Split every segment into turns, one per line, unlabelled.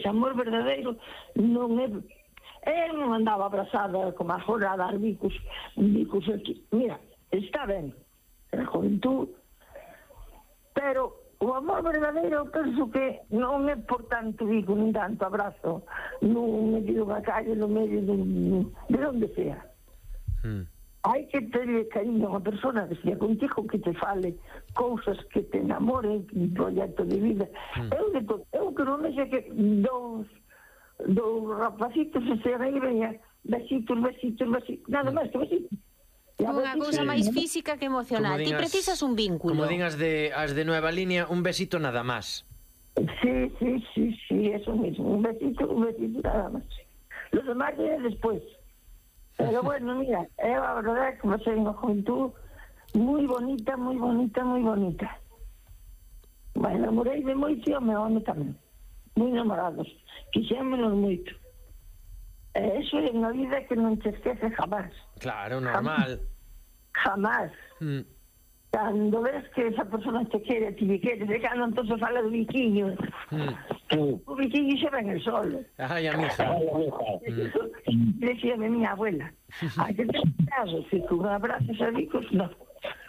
ese amor verdadeiro non é... Eu non andaba abrazada como agora a dar bicos aquí. Mira, está ben, a juventud, pero o amor verdadeiro eu penso que non é por tanto bico, nin tanto abrazo, non medio da calle, no medio de onde sea. Hai que terle cariño a unha persona que sea contigo, que te fale cousas que te enamoren, un proxecto de vida. Eu que non sei que dous rapacitos se aí veña besitos, nada máis que besitos.
Unha cousa máis física que emocional. Ti precisas un vínculo.
Como din as de Nueva Línea, un besito nada máis.
Sí, eso mismo, un besito nada máis. Los demás vienen despois. Pero bueno, mira, eu a verdade que pasei unha juventud moi bonita. Me enamorei de moito e o meu home tamén. Moi enamorados. Quixémonos moito. Eso é unha vida que non te esquece jamás.
Claro, normal.
Jamás. Cando ves que esa persona te quere, ti le queres, e cando entón se fala do biquiño, o biquiño xa ven el sol.
Ai, a mija.
Decíame miña abuela, hai que ter cuidado, que con abrazos a bicos, non.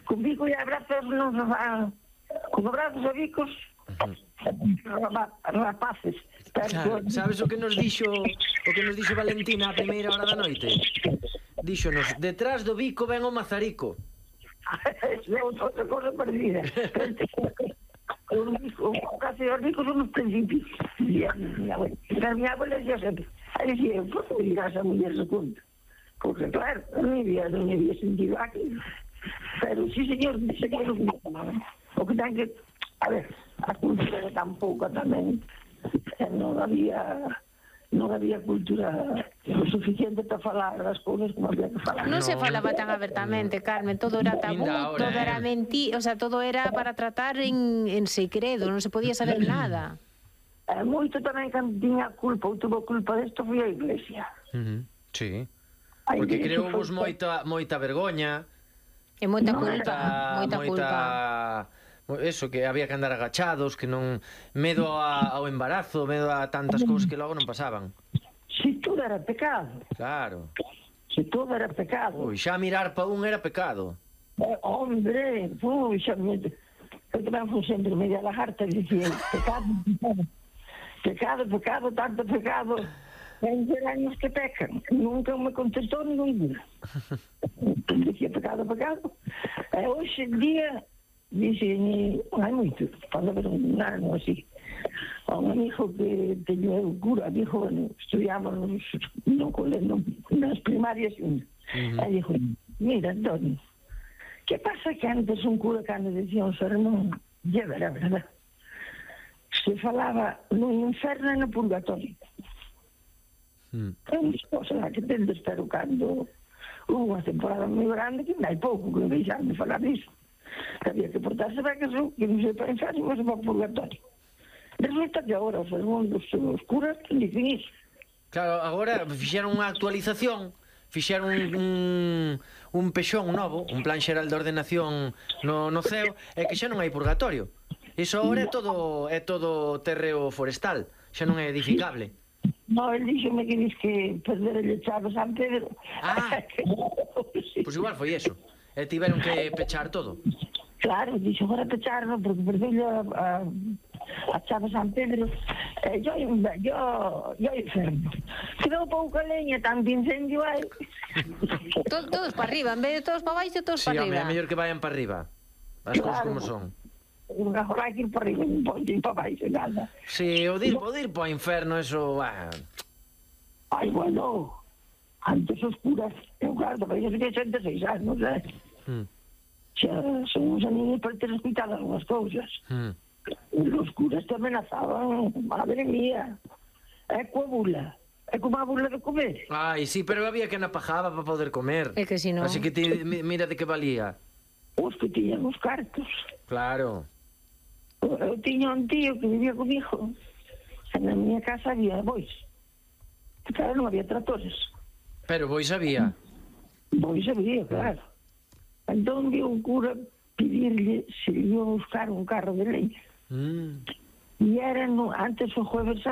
Con bico e abrazos non se van. Con abrazos a bicos, rapaces.
Claro, sabes o que nos dixo Valentina a primeira hora da noite? Díxonos, detrás do bico ven o mazarico.
É outra cosa perdida. Casi os ricos son os principios. Minha abuela decía sempre, dicía, por que me dirás a muller segundo? Porque claro, non había sentido aquí. Pero sí, señor, o que ten que, a ver, a cultura tampouco tamén, non había cultura o suficiente para falar as cousas como había que falar.
Non se falaba tan abertamente, Carmen, todo era tabú, todo era mentira, o sea, todo era para tratar en secreto, non se podía saber nada.
Moito tamén que tiña culpa, ou tuvo culpa desto foi a Iglesia.
Sí, porque creouvos moita vergoña
e moita culpa.
Eso, que había que andar agachados, que non... Medo ao embarazo, medo a tantas cousas que logo non pasaban.
Si todo era pecado.
Claro.
Si todo era pecado.
Ui, xa mirar pa un era pecado.
Hombre, xa... Eu tamén fui sempre media lagarta e dicía, pecado, tanto pecado. Ven ser años que pecan. Nunca me contestou ningún. Dicía, pecado. E hoxe en día... Dixen, hai moito, pode haber un ano así. Un amigo que teño eu cura, dijo, estudiamos nas primarias e dijo, mira, Antonio, que pasa que antes un cura cando decía un sermón, e era verdad, se falaba no inferno e no purgatorio. É unha cosa que tendes, pero cando hubo unha temporada moi grande que hai pouco que deixaron de falar disso. Había que portarse ben, que non se para inferno, mas para purgatorio. Resulta que agora os mundos oscuros dicen iso.
Claro, agora fixeron unha actualización, fixeron un pexón novo, un plan xeral de ordenación no ceo, e que xa non hai purgatorio. Iso agora é todo terreo forestal, xa non é edificable.
No, el díxome que diz que perder el echado San Pedro.
Pois igual foi eso. E tiveron que pechar todo.
Claro, dixo, agora pecharlo porque perdeu a chave San Pedro. Yo enfermo. Quedou pouca leña, tanto incendio hai.
Todos para arriba, en vez de todos para baixo, todos para arriba.
Sí, home, é mellor que vayan para arriba. As cousas como son.
Agora hai que ir para arriba, non pode ir para baixo, nada.
Sí, o de ir para o inferno, eso...
Ai, bueno... Antes os curas, eu claro, para ellos tenía 86 anos, xa son uns aninhos para ter escuitado algunhas cousas. Os curas te amenazaban, madre mía, é coa bula, é como a bula de comer.
Ai, sí, pero había que napajaba para poder comer.
É que si non...
Así que mira de que valía.
Os que tiñan os cartos.
Claro.
Eu tiña un tío que vivía comigo, na miña casa había bois. Claro, non había tratores.
Pero bois había.
Bois había, claro. Entón viu un cura pedirle se iba a buscar un carro de leña. E era antes o jueves